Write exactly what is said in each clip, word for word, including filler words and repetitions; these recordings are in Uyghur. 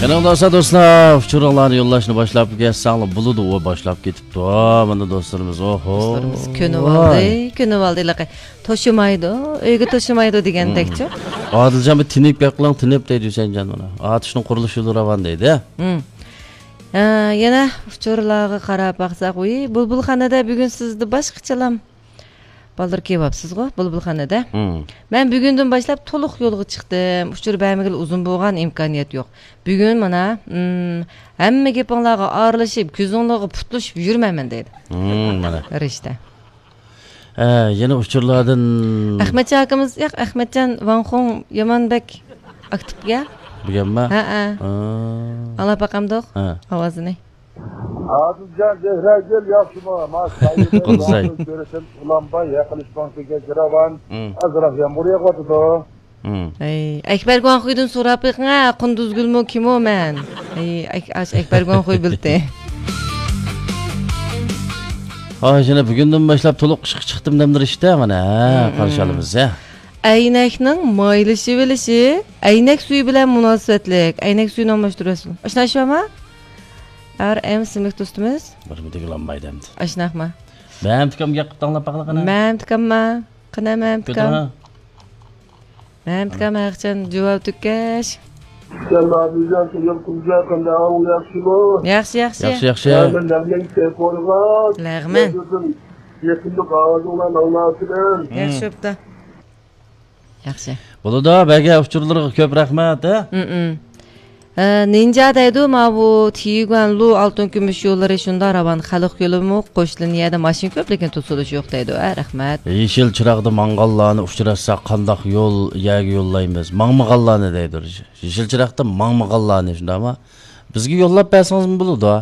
قېنىڭ دوستلار، دوستلار، ئۇچۇرۇڭلارنى يوللاشنى باشلاپ كەتسەڭلار بولىدۇ، ئۇ باشلاپ كېتىپتۇ. مانا دوستلىرىمىز، ئوھو. دوستلىرىمىز كۆنۈۋالدى، ۋاي. كۆنۈۋالدى، ھېلىقى توشۇمايدۇ، ئۆيگە توشۇمايدۇ دېگەندەكچۇ. ئادىلجان، بىر تىنىپ گەپ قىلىڭ، تىنىپ دەيدۇ ھۈسەينجان مانا. ئاتۇشنىڭ قۇرۇلۇشى راۋان دەيدۇ. ھە، يەنە ئۇچۇرلارغا قاراپ باقساق، ۋىي، بۇلبۇلخانىدا بۈگۈن سىزدە باشقىچىلام. بالدۇر كېلىۋاپسىزغۇ، بۇلبۇلخانىدا. مم. مەن بۈگۈندىن باشلاپ تولۇق يولغا چىقتىم. ئۇچۇر بەرمىگىلى ئۇزۇن بولغان، ئىمكانىيەت يوق. بۈگۈن مانا، مم، ھەممە گېپىڭلارغا ئارىلىشىپ، كۆزۈڭلارغا پۇتلىشىپ يۈرمەيمەن دەيدۇ. مم، مانا. رىشتە. ھە، يەنە ئۇچۇرلاردىن. ئەخمەتجان ئاكىمىز، ياق، ئەخمەتجان ۋاڭخۇڭ يامان بەك ئاكتىپكەن. بۈگۈنمۇ؟ ھە، ھە. ھە. ئاڭلاپ باقامدۇق؟ ھە. ئاۋازىنى. ئادىلجان زەھرەگۈل ياخشىمۇ؟ ما سايىدىن قۇدۇزاي. ۋاڭخۇي كۆرۈشۈم ئۇلانباي يېقىنلىشىپ ماڭسىكەن كىراۋان. مم. ئازراق يامغۇر يېغىۋاتىدۇ. مم. ئەي، ئەكبەر گۇاڭخۇيدىن سوراپ بېقىڭ ھە، قۇندۇزگۈلمۇ كىمۇ مەن؟ ئەي، ئەك-، ئاش ئەكبەر گۇاڭخۇي بىلتى. ھاي، يەنە بۈگۈندىن باشلاپ تولۇق ئىشقا چىقتىم دەمدىر ئىشتە، مانا، ھە، مم، قارشى مم. ئالىمىز، ھە. ئەينەكنىڭ مايلىشىۋېلىشى ئەينەك سۈيى بىلەن مۇناسىۋەتلىك. ئەينەك سۈيىنى ئالماشتۇرۇۋەتسۇن. ئاشۇنداق ئىش بارمۇ؟ ئار ئېم ئىسىملىك دوستىمىز. بىر مىدىك ئالمايدۇ ئەمدى. ئاشۇنداقمۇ؟ مەمتىكام گەپ قىلىپ ئاڭلاپ باقىلا قېنى. مەمتىكامما؟ قېنى مەمتىكام؟ كۆتۈرۈڭ. مەمتىكام ھەقچان جاۋاب تۈكەش. يەنە ئادىلجان، سىزنىڭ قىزى قانداق ئەھۋال، ياخشىمۇ؟ ياخشى، ياخشى. ياخشى، ياخشى. يا، مەن لەغمەن كېلىپ قويغان. لەغمەن. يېقىندا ئاۋازىڭلارنى ئاڭلاۋاتىمەن. ياخشى بوپتۇ. ياخشى. بولىدۇ، بەگە ئۇچۇرلىرىغا كۆپ رەھمەت، ھە؟ مم. ئە، نىنجا دەيدۇ، ماۋۇ تىيۈگۈەنلۇ ئالتۇن كۈمۈش يوللىرى شۇنداق راۋان، خەلق يولىمۇ قوشۇلۇن يەردە ماشىنا كۆپ، لېكىن توسۇلۇش يوق دەيدۇ، ھە، رەھمەت. يېشىل چىراغدا ماڭغانلارنى ئۇچراتساق قانداق يول يەرگە يوللايمىز؟ ماڭمىغانلارنى دەيدۇ. يېشىل چىراغدا ماڭمىغانلارنى شۇنداقمۇ؟ بىزگە يوللاپ بەرسىڭىزمۇ بولىدۇ.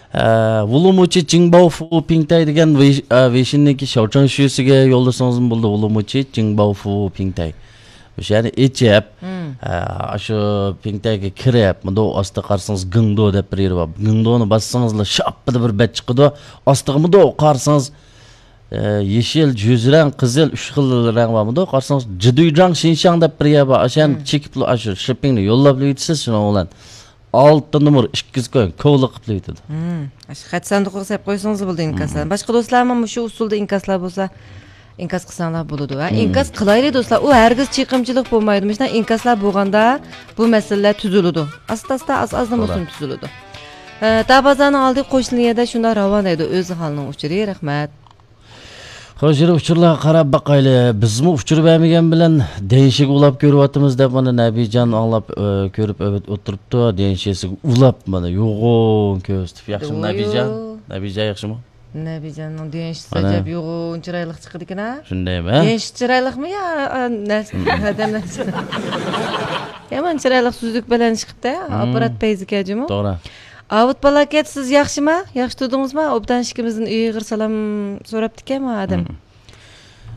ئە، ۋۇلۇمۇچى جىڭباۋفۇ پىڭتەي دېگەن ۋېي-، ئە، ۋېيشىننىڭكى شاۋچاڭشۈسىگە يوللىسىڭىزمۇ بولىدۇ، ۋۇلۇمۇچى جىڭباۋفۇ پىڭتەي. ئۆشەنى ئېچىپ، مم. ئە، ئاشۇ پىڭتەيگە كىرىپ، مۇنداق ئاستىغا قارىسىڭىز گىڭدو دەپ بىر يېرى بار. گىڭدونى باسسىڭىزلا شاپپىدە بىر بەت چىقىدۇ. ئاستىغا مۇنداق قارىسىڭىز، ئە، يېشىل، جۈزرەڭ، قىزىل، ئۈچ خىل رەڭ بار. مۇنداق قارىسىڭىز جىدۇيجاڭ شىنشاڭ دەپ بىر يەر بار. ئاشۇ يەرنى مم. چېكىپلا ئاشۇ شىپپىڭنى يوللاپلا ئۆتىسىز شۇنىڭ بىلەن. ئالتە نومۇر ئىككىز كويۇڭ، كولا قىپلا ئۆتىدۇ. مم. ئاشۇ خەت ساندۇقىغا سەپ قويسىڭىز بولىدۇ ئىنكاسلارنى. مم. باشقا دوستلارمۇ مۇشۇ ئۇسۇلدا ئىنكاسلار بولسا، ئىنكاس قىلساڭلار بولىدۇ، ھە؟ مم. ئىنكاس قىلايلى دوستلار، ئۇ ھەرگىز چېقىمچىلىق بولمايدۇ. مۇشۇنداق ئىنكاسلار بولغاندا بۇ مەسىلىلەر تۈزۈلىدۇ. ئاستا-ئاستا، ئاز-ئازدىن توغرا. بولسىمۇ تۈزۈلىدۇ. ئە، تا بازارنىڭ ئالدى قوشنا يەردە شۇنداق راۋان دەيدۇ، ئۆزى ھالنىڭ ئۇچۇرى، رەھمەت. خوش، يەنە ئۇچۇرلارغا قاراپ باقايلى. بىزمۇ ئۇچۇر بەرمىگەن بىلەن دېڭشىگە ئۇلاپ كۆرۈۋاتىمىز دەپ مانا نەبىجان ئاڭلاپ، ئۆ، كۆرۈپ ئۆ-، ئولتۇرۇپتۇ. دېڭشىسىگە ئۇلاپ مانا يوغۇن كۆرسىتىپ. ياخشىمۇ نەبىجان؟ نەبىجان ياخشىمۇ؟ نەبىجاننىڭ دېڭشىسى ئەجەب يوغۇن چىرايلىق چىقىدىكەن ھە؟ شۇندايمۇ؟ دېڭشىسى چىرايلىقمۇ يا، ئا، نەرسە، ئادەم نەرسە. يامان چىرايلىق سۈزۈك بەلەن چىقىپتۇ. ئاپپارات پەيزى كەجىمۇ. توغرا. ئاۋۇت پالاكەت، سىز ياخشىما؟ ياخشى تۇردىڭىزما؟ ئوبدان ئىككىمىزدىن ئېغىر سالام سوراپتىكەن ئادەم. مم.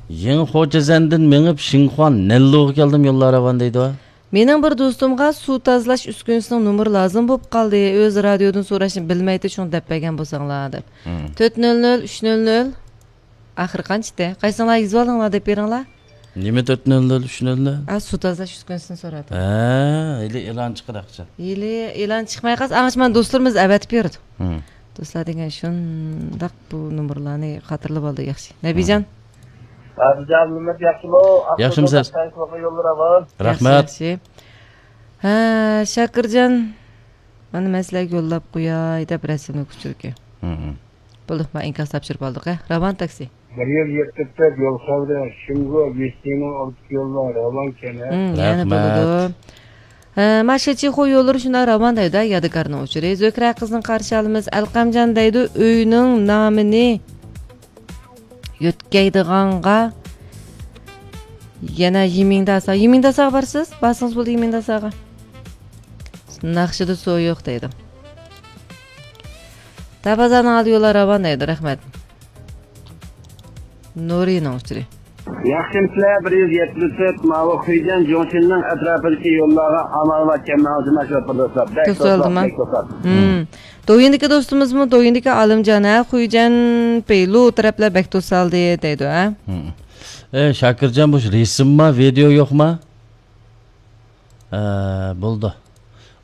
يېڭى خوجەزەندىن مېڭىپ، شىنخۇا نەنلۇغا كەلدىم، يوللار راۋان دەيدۇ. مېنىڭ بىر دوستۇمغا سۇ تازىلاش ئۈسكۈنىسىنىڭ نومۇرى لازىم بولۇپ قالدى. ئۆزى رادىيودىن سوراشنى بىلمەيتتى، شۇڭا دەپ بەرگەن بولساڭلار دەپ. مم. تۆت نۆل نۆل، ئۈچ نۆل نۆل. ئاخىرى قانچىدى؟ قايسىڭلار يېزىۋالدىڭلار دەپ بېرىڭلار. نېمە تۆت نۆل نۆل، ئۈچ نۆل نۆل؟ ھە، سۇ تازىلاش ئۈسكۈنىسىنى سوراپ. ھە، ھېلى ئېلان چىقىدۇ ئاخشام. ھېلى ئېلان چىقماي قالسا، ئاڭشىمان دوستلىرىمىز ئەۋەتىپ بېرىدۇ. ھىم. دوستلار دېگەن شۇنداق بۇ نومۇرلارنى خاتىرىلىۋالدى، ياخشى. نەبىجان. ھىم. ئادىلجان ئابلىمىت ياخشىمۇ؟ ياخشىمۇسىز؟ يوللىرى بار. رەھمەت. ياخشى، ياخشى. ھە، شاكىرجان. مانا مەن سىلەرگە يوللاپ قوياي دەپ رەسىملىك ئۇچۇركەن. ھىم. بولدى، مانا ئىنكاس تاپشۇرۇپ ئالدۇق، ھە. راۋان تاكسى. بىر يىل يېتىپ يول خەۋىرى، شىنگۇ، ۋېستىنىڭ ئالدىدىكى يوللار راۋان كەن، ھە؟ مم، يەنە رەھمەت. بولىدۇ. ھە، ماشىچىخۇ يوللىرى شۇنداق راۋان دەيدۇ، يادىكارنىڭ ئۇچۇرى. زۆھرە قىزنى قارشى ئالىمىز. ئەلقەمجان دەيدۇ، ئۆينىڭ نامىنى يۆتكەيدىغانغا يەنە يىمىڭداسا. يىمىڭداساغا بارسىز؟ بارسىڭىز بولدى يىمىڭداساغا. ناخشىدا سۇ يوق دەيدۇ. تابازانىڭ ئالدى يوللار راۋان دەيدۇ. رەھمەت. نۇرىنىڭ ئۇچۇرى. ياخشىمۇسىلەر؟ بىر يۈز يەتمىش تۆت، ماۋۇ خۇيجەن جۇڭشىننىڭ ئەتراپىدىكى يوللارغا ئامال باركەن ماڭزىما شوپۇرداشلار. بەك توسالدىما. بەك توسالدى. مم. دويىندىكى دوستىمىزمۇ، دويىندىكى ئالىمجان، ھە، خۇيجەن پېيلۇ تەرەپلەر بەك توسالدى دەيدۇ، ھە؟ مم. ئەي، شاكىرجان، بۇ رەسىمما، ۋىدېئو يوقما؟ ئە، بولدى.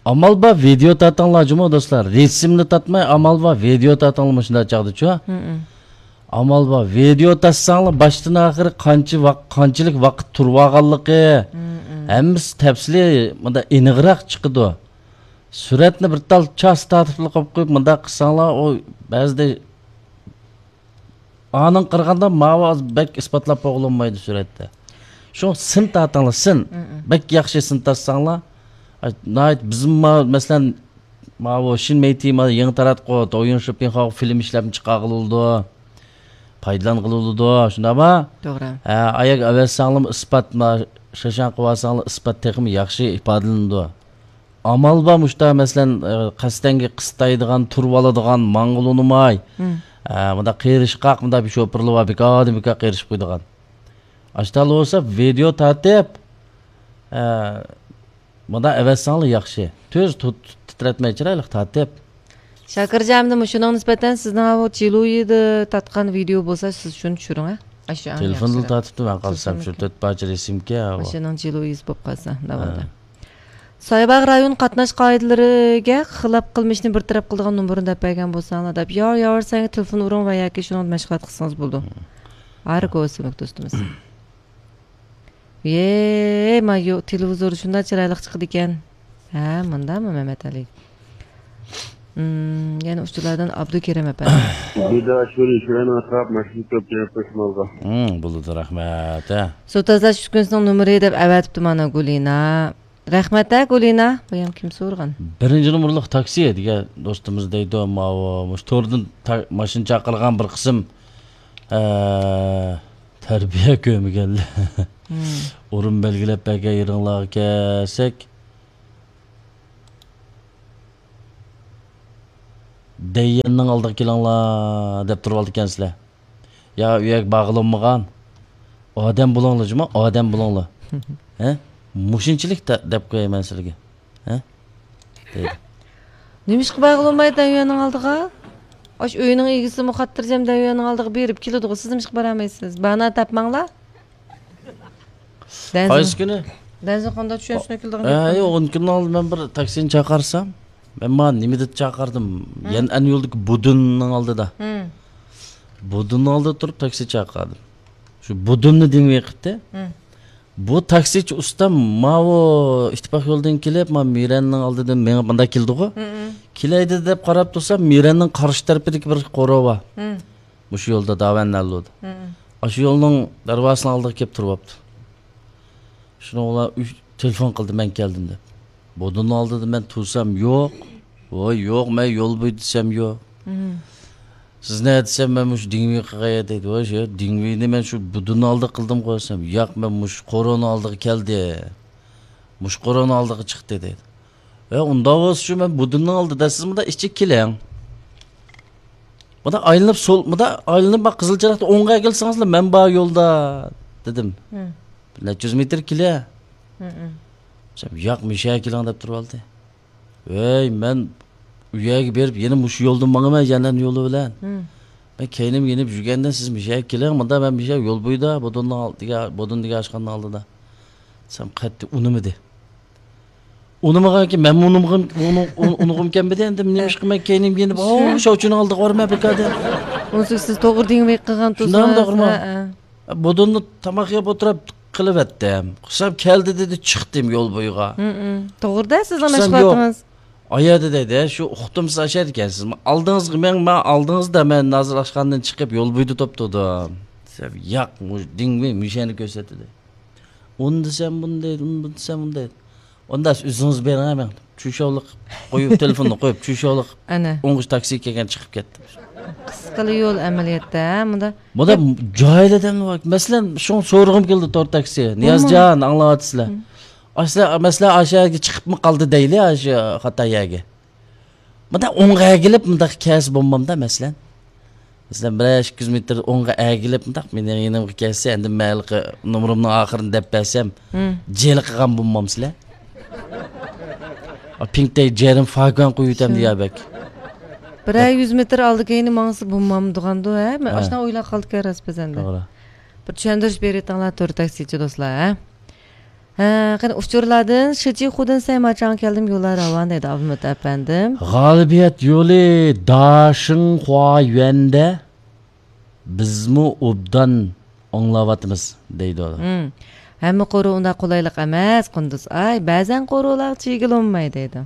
ئامال بار ۋىدېئو تارتىڭلار جۇمۇ دوستلار. رەسىمنى تارتماي، ئامال بار ۋىدېئو تارتىڭلار مۇشۇنداق چاغدىچۇ. ئامال بار ۋىدېئو تارتساڭلار، باشتىن ئاخىرى قانچە ۋاق-، قانچىلىك ۋاقىت تۇرۇۋالغانلىقى، ھەممىسى تەپسىلىي، مۇنداق ئېنىقراق چىقىدۇ. سۈرەتنى بىر تال چاس تارتىپلا قويۇپ قويۇپ، مۇنداق قىلساڭلار، ئۇ بەزىدە ئانىڭ قارىغاندا ماۋۇ بەك ئىسپاتلاپ بولغىلى بولمايدۇ سۈرەتتە. شۇ سىن تارتىڭلار، سىن. بەك ياخشى سىن تارتساڭلار. ئاي، ناھايىتى بىزمۇ ما-، مەسىلەن، ماۋۇ شىن مېيتى ما يېڭى تاراتقۇ، دويۇن شىپىڭخاۋ فىلىم ئىشلەپ چىقارغىلى بولىدۇ. پايدىلانغىلى بولىدۇ، شۇنداقمۇ؟ توغرا. ھە، ئاياق ئەۋەتسەڭلارمۇ ئىسپات، ما شاشاڭ قىلىۋالساڭلار ئىسپات تېخىمۇ ياخشى ئىپادىلىنىدۇ. ئامال بار مۇشتا، مەسىلەن، ئە، قەستەنگە قىستايدىغان، تۇرۇۋالىدىغان، ماڭغىلى ئۇنىماي. ئە، مۇنداق قېرىشقاق، مۇنداق بىر شوپۇرلار بار، بىكاردىن بىكار قېرىشىپ قويىدىغان. ئاشتالا بولسا ۋىدېئو تارتىپ، ئە، مۇنداق ئەۋەتسەڭلار ياخشى. تۈز تۇت-، تىترەتمەي چىرايلىق تارتىپ. شاكىرجان، ئەمدى مۇشۇنىڭغا نىسبەتەن سىزنىڭ ئاۋۇ جىلۇيىدا تارتقان ۋىدېئو بولسا، سىز شۇنى چۈشۈرۈڭ، ھە؟ ئاشۇ ئەڭ تېلېفوندىلا ياخشىراق. تارتىپتۇ مەن قارىسام، شۇ تۆت پارچە رەسىمكەن ئاۋۇ. ئاشۇنىڭ جىلۇيىسى بولۇپ قالسا، ناۋادا. ھە. سايباغ رايون قاتناش قائىدىلىرىگە خىلاپ قىلمىشنى بىر تەرەپ قىلىدىغان نومۇرنى دەپ بەرگەن بولساڭلار دەپ. ياۋ، ياۋ، سەنگە تېلېفون ئۇرۇڭ ۋە ياكى شۇنىڭدا مەشغۇلات قىلسىڭىز بولىدۇ. ھاركوۋا سۈمۈك دوستىمىز. يەي، ما يو-، تېلېۋىزور شۇنداق چىرايلىق چىقىدىكەن. ھە، مۇنداقمۇ مەمەتئەلى؟ ئىم، يەنە ئۇچۇرلاردىن ئابدۇكېرىم ئەپەندى. بىداشۇرى شۇرەن ئاتراپ ماشىنا كۆپ جەناب پېشمالغا. ھىم، بولىدۇ، رەھمەت، ھە. سۇ تازىلاش ئۈسكۈنىسىنىڭ نومۇرى دەپ ئەۋەتىپتۇ مانا گۇلىنا. رەھمەت، ھە، گۇلىنا. بۇ يەنە كىم سورىغان؟ بىرىنچى نومۇرلۇق تاكسى دېگەن دوستىمىز دەيدۇ، ماۋۇ، مۇشۇ توردىن تا-، ماشىنا چاقىرغان بىر قىسىم، ئە، تەربىيە كۆرمىگەنلەر. ھىم. ئورۇن بەلگىلەپ بەرگەن يېرىڭلارغا كەلسەك، دەييەننىڭ ئالدىغا كېلىڭلار دەپ تۇرۇۋالىدىكەنسىلەر. يا ئۇ يەرگە بارغىلى بولمىغان. ئادەم بولۇڭلار جۇما، ئادەم بولۇڭلار. ھە؟ مۇشۇنچىلىك دە-، دەپ قوياي مەن سىلەرگە. ھە؟ دەيدۇ. نېمىشقا بارغىلى بولمايدۇ ئۆينىڭ ئالدىغا؟ ئاشۇ ئۆينىڭ ئىگىسىمۇ خاتىرجەم دەۋېرىنىڭ ئالدىغا بېرىپ كېلىدىغۇ، سىز نېمىشقا بارالمايسىز؟ باھانە تاپماڭلار. دەنزىڭ، قايسى كۈنى؟ دەنزىڭ قانداق چۈشەنسۇن كېلىدىغان ئە، گەپ. يوق، ئون كۈننىڭ ئالدىدا مەن بىر تاكسىنى چاقىرسام، مەن مانا نېمىدە چاقىردىم؟ ھىم. يەنئەن يولدىكى بۇدۇننىڭ ئالدىدا. ھىم. بۇدۇننىڭ ئالدىدا تۇرۇپ تاكسى چاقىردىم. شۇ بۇدۇننى دىڭ قىپتى. ھىم. بۇ تاكسىچى ئۇستام ماۋۇ ئىتتىپاق يولىدىن كېلىپ، ما مىرەننىڭ ئالدىدىن مېڭىپ مۇنداق كېلىدىغۇ. ھىم، ھىم. كېلەيدۇ دەپ قاراپ تۇرسام، مىرەننىڭ قارشى تەرىپىدىكى بىر قورۇ بار. ھىم. مۇشۇ يولدا داۋەن نەللۇدا. ھىم. ئاشۇ يولنىڭ دەرۋازىسىنىڭ ئالدىغا كېلىپ تۇرۇۋاپتۇ. شۇنىڭ بىلەن ئۈچ تېلېفون قىلدى، مەن كەلدىم دەپ. بۇدۇننىڭ ئالدىدا مەن تۇرسام يوق. ۋاي يوق، مەن يول بويىدا دېسەم يوق. مم. سىز نەدە دېسەم، مەن مۇشۇ دىڭۋېي قىلغان يەردە دەيدۇ. ۋاي شۇ دىڭۋېينى مەن شۇ بۇدۇننىڭ ئالدىدا قىلدىمغۇ دېسەم، ياق، مەن مۇشۇ قورۇنىڭ ئالدىغا كەلدىم. مۇشۇ قورۇنىڭ ئالدىغا چىقتى دەيدۇ. ۋە ئۇنداق بولسا شۇ مەن بۇدۇننىڭ ئالدىدا، سىز مۇنداق ئىچىگە كېلىڭ. مۇنداق ئايلىنىپ سول، مۇنداق ئايلىنىپ بار قىزىل چىراغدا ئوڭغا كەلسىڭىزلا مەن بار يولدا دېدىم. مم. بىر نەچچە يۈز مېتىر كېلە. مم، مم. دېسەم، ياق، مۇشۇ يەرگە كېلىڭ دەپ تۇرۇۋالدى. ۋەي، مەن ئۇ يەرگە بېرىپ يەنە مۇشۇ يولدىن ماڭىمەن، يەنئەن يولى بىلەن. مم. مەن كەينىمگە يېنىپ يۈرگەندە سىز مۇشۇ يەرگە كېلىڭ، مۇندا مەن مۇشۇ يەر يول بويىدا، بۇدۇننىڭ ئالدىغا، بۇدۇن دېگەن ئاشخانىنىڭ ئالدىدا. دېسەم قەتئىي ئۇنىمىدى. ئۇنىمىغانكى مەنمۇ ئۇنىمىغان، ئۇنىغۇم كەلمىدى، ئەمدى نېمىشقا مەن كەينىمگە يېنىپ، ئاۋۇ شاۋچىنىڭ ئالدىغا بارىمەن بىكار دەپ. ئۇنسۇ سىز توغرا دېڭىۋېقىغان شۇنداقمۇ تۇرسىڭىز. توغرىمۇ؟ ھە، ھە. بۇدۇننى تاماق يەپ ئولتۇرۇپ قىلىۋەتتىم. قىلسام كەلدى دېدى، چىقتىم يول بويىغا. ھم، ھم. توغرىدا سىزنىڭ قىلسام يوق. مەشغۇلاتىڭىز. ئايەردە دەيدۇ، شۇ ئۇقتۇم سىز ئاشەر ئىكەنسىز. ئالدىڭىزغا مېڭىڭ، مەن ئالدىڭىزدا مەن ھازىر ئاشخانىدىن چىقىپ يول بويىدا توپ تۇردۇم. دېسەم، ياق، مۇ-، دىڭۋېي مۇشەنى كۆرسەتتى. ئۇنى دېسەم بۇنى دەيدۇ، ئۇنى دېسەم بۇنى دەيدۇ. ئۇندا ئۆزىڭىز بېرىڭ، مەن چۈشەۋلىق قويۇپ، تېلېفوننى قويۇپ، چۈشەۋلىق ئەنە. ئوڭغا تاكسى كەلگەن چىقىپ كەتتىم. قىسقىلا يول ئەمەلىيەتتە، ھە، مۇندا. مۇندا جاھىل ئادەملەر بار. مەسىلەن، شۇڭا سورىغۇم كېلىدۇ تور تاكسى. نىيازجان، ئاڭلاۋاتىسىلەر. مم. ئاشۇ، مەسىلەن، ئاشۇ يەرگە چىقىپمۇ قالدى دەيلى، ئاشۇ خاتا يەرگە. مۇنداق ئوڭغا ئەگىلىپ، مۇنداق كەلسە بولمامدا، مەسىلەن. مەسىلەن، بىر ئىككى يۈز مېتىر ئوڭغا ئەگىلىپ، مۇنداق مېنىڭ يېنىمغا كەلسە، ئەمدى مەن ھېلىقى نومۇرۇمنىڭ ئاخىرىنى دەپ بەرسەم، مم. جېلىقىغان بولمامسىلەر؟ ئا، پىڭتەي جەرىم فاگۇەن قويۇۋېتەمدۇ يا بەك؟ بىرەر يۈز مېتىر ئالدى كەينى ماڭسا بولمامدىغاندۇ، ھە؟ مەن ھە. ئاشۇنداق ئويلاپ قالدىكەن راست بەزەندە. توغرا. بىر چۈشەندۈرۈش بېرىۋېتىڭلار، تور تاكسىچى دوستلار، ھە؟ ھە، قېنى ئۇچۇرلاردىن شىچىخۇدىن سەيماچاڭ كەلدىم، يوللار راۋان دەيدۇ ئابلىمىت ئەپەندىم. غالىبىيەت يولى داشىڭخۇا يۈەندە، بىزمۇ ئوبدان ئاڭلاۋاتىمىز دەيدۇ. ھىم. ھەممە قورۇ ئۇنداق قولايلىق ئەمەس، قۇندۇز ئاي. بەزەن قورۇلار چىگىلونماي دەيدۇ.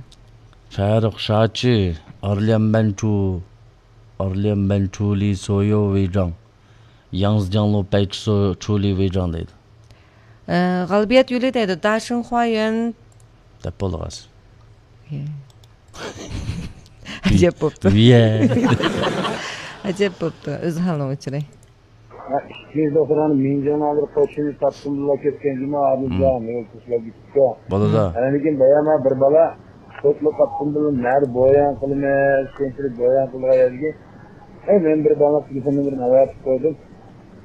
فەرق شاچى، ئارليەنبەنچۇ، ئارليەنبەنچۇلى سويو ۋېيجاڭ، ياڭزجاڭلو پەيچىسو چۇلى ۋېيجاڭ دەيدۇ. ئە، غالىبىيەت يولى دەيدۇ، داشىنخۇايۈەن. دەپ بولدى ھازىر. ئەجەب بوپتۇ. ئەجەب بوپتۇ، ئۆز ھالىنىڭ ئۇچۇرى. ئىككىنچى دوختۇرخانا مىڭجاڭ ھازىر قوشۇنى تاپتىمدىلا كەتكەن جۇما، ئادىلجان، مم. يول تاشلاپ كېتىپتۇ. بولىدۇ. ئاندىن كېيىن بايام بىر بالا توكلۇق قاپتىمدىلا نەدە بويان قىلىمىز، كەينىدىن بويان قىلغان يەرگە، ئەي، مەن بىر بالىنىڭ تېلېفون نومۇرىنى ئەۋەتىپ قويدۇم.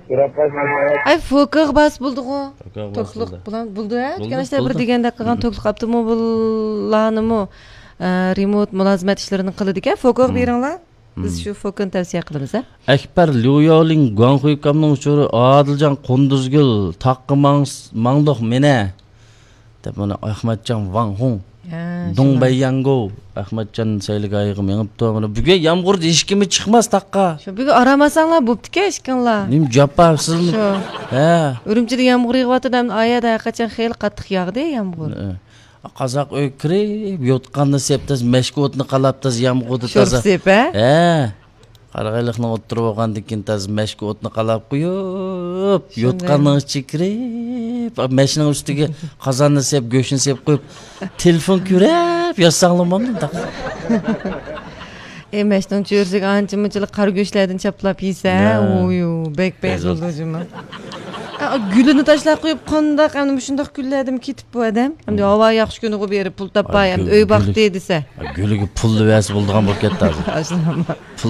سوراپ قايسىڭىز ئەۋەت. ئاي، فوكىغا باس بولدىغۇ. فوكىغا باس توكلۇق بولدى. بىلەن بولدى، ھە؟ بولدى، دېگەن ئىشلار بىر بولدى. دېگەندەك قىلغان مم. توكلۇق ئاپتوموبىللارنىمۇ، ئە، رېمونت، مۇلازىمەت ئىشلىرىنى قىلىدىكەن. فوكىغا مم. بېرىڭلار. بىز مم. شۇ فوكىنى تەۋسىيە قىلىمىز، ھە؟ ئەكبەر ليۇياۋلىڭ گۇاڭخۇي كامنىڭ ئۇچۇرى، ئادىلجان قۇندۇزگۈل، تاغقا ماڭ-، ماڭدۇق مېنە. دەپ مانا ئەخمەتجان ۋاڭ خۇڭ. ھە، دۇڭ شۇنداق. بەيياڭگو. ئەخمەتجان سەيلىگاھىغا مېڭىپتۇ. مانا بۈگۈن يامغۇردا ھېچكىممۇ چىقماس تاغقا. شۇ بۈگۈن ئارام ئالساڭلار بوپتىكەن ئىككىڭلار. نېمە جاپا سىزمۇ؟ شۇ. ھە. ئۈرۈمچىدە يامغۇر يېغىۋاتىدۇ، ئەمدى ئايەدە ھەرقاچان خېلى قاتتىق ياغدى يامغۇر. ھە. قازاق ئۆيگە كىرىپ، يوتقاننى سېپ تازا، مەشكە ئوتنى قالاپ تازا، يامغۇردا شورپا تازا. سېپ، ھە؟ ھە. قارىغايلىقنىڭ ئوتتۇرا بولغاندىن كېيىن تازا مەشكە ئوتنى قالاپ قويۇپ، شۇنداق. يوتقاننىڭ ئىچىگە كىرىپ، مەشنىڭ ئۈستىگە قازاننى سېپ، گۆشنى سېپ قويۇپ، تېلېفون كۆرۈپ ياتساڭلار مانداق. ئەي، مەشنىڭ چۆرىسىگە ئانچە مۇنچىلىك قارا گۆشلەردىن چاپلاپ يېسە، ھە. ئويۇ، بەك بەك بولىدۇ جۇمۇ. ئا، گۈلىنى تاشلاپ قويۇپ، قانداق، ئەمدى مۇشۇنداق كۈنلەردىمۇ كېتىپ بۇ ئادەم؟ ئەمدى ھاۋا ياخشى كۈنىغۇ بېرىپ پۇل تاپاي، ئەمدى ئۆي باقتى دېسە. ئا، گۈلىگە پۇللا بەرسە بولىدىغان بولۇپ كەتتى ھازىر. ئاشۇنداقمۇ؟ پۇل